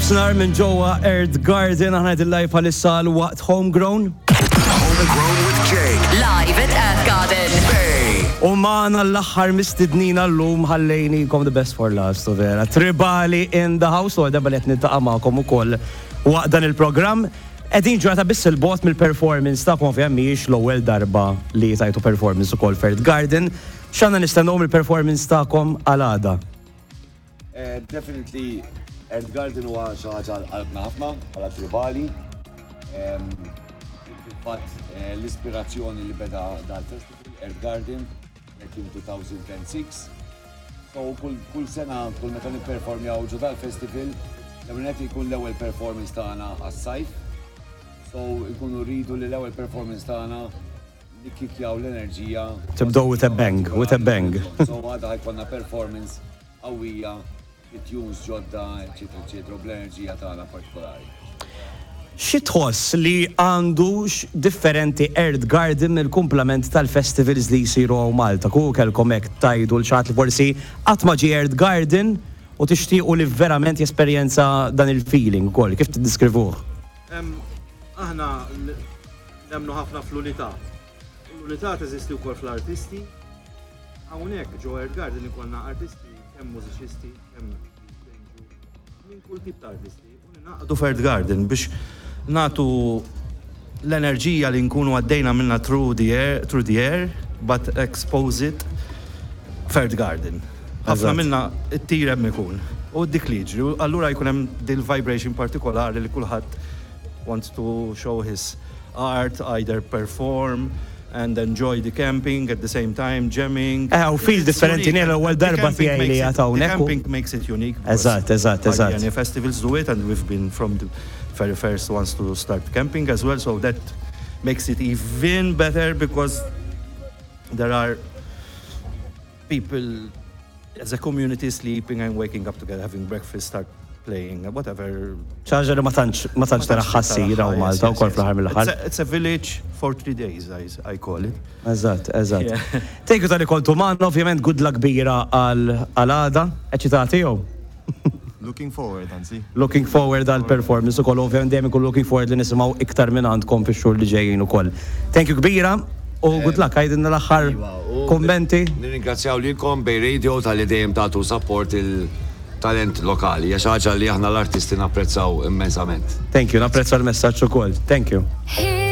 Nofsinhar minn ġewwa Earth Garden aħna qegħdin live bħalissa għal waqt Homegrown. Homegrown with Jake. Live at Earth Garden. Bay. U magħna l-aħħar mistednina llum ħallejnikom the best for last u vera. Tribali in the house u għal darba li qed niltaqa' magħkom ukoll waqt dan il-programm. Qegħdin ġurnata biss 'il bogħod mill-performance tagħkom ovvjament mhijiex l-ewwel darba li tajtu performance ukoll f'Earth Garden. X'għandna nistennew mill-performance tagħkom għal għada? Definitely Earth Garden huwa xi ħaġa għal qalbna ħafna bħala tribali. Fil-fatt l-ispirazzjoni li beda dal-festival Earth Garden back in 2006. So kull sena, kull meta nipperformjaw ġo dal-festival, l-ewwel nett jkun l-ewwel performance tagħna għas-sajf. So nkunu rridu li l-ewwel performance tagħna nikkikjaw l-enerġija. Tibdew with a bang, with a bang. So għada ħa jkollna performance qawwija, tunes ġodda, eċetera, eċetera, u bl-enerġija tagħna partikolari. Xi tħoss li għandu differenti Earth Garden mill-kumplament tal-festivals li jsiru hawn Malta? Kieku kellkom hekk tgħidu lil xi ħadd li forsi qatt ma ġie Earth Garden u tixtiequ li verament jesperjenza dan il-feeling ukoll, kif tiddiskrivuh? Aħna nemmnu ħafna fl-unità. L-unità teżisti wkoll fl-artisti. Hawnhekk ġo Earth Garden ikollna artisti kemm mużiċisti, kemm minn kull tip ta' artisti. U ningħaqdu f'Earth Garden biex nagħtu l-enerġija li nkunu għaddejna minna through the air, but expose it f'Earth Garden. Ħafna minna it-tir hemm ikun. U dik li jiġri, u allura jkun hemm dil vibration partikolari li kulħadd wants to show his art, either perform and enjoy the camping at the same time, jamming. U feel differenti, l-ewwel darba tiegħi li qiegħed hawnhekk. The camping makes it unique. Eżatt, eżatt, eżatt. Any festivals do it and we've been from the very first ones to start camping as well, so that makes it even better because there are people as a community sleeping and waking up together, having breakfast, start playing, whatever. Xi ħaġa li ma tantx tara ssir hawn Malta ukoll fl-aħħar mill-aħħar. It's a village for 3 days, I call it. Eżatt. Thank you talli kontu magħna, ovvjament good luck kbira għal għada. Eċitati jew? Looking forward, anzi. Looking forward għal performance ukoll, ovvjament dejjem ikun looking forward li nisimgħu iktar minn għandkom fix-xhur li ġejjin ukoll. Thank you kbira u good luck, għidilna l-aħħar Iva, u kommenti. Nirringrazzjaw lilkom Bay Radio talli dejjem tagħtu support il-talent lokali. Hija xi ħaġa li aħna l-artisti napprezzaw immensament. Thank you, napprezza l-messaġġ ukoll. Thank you. Here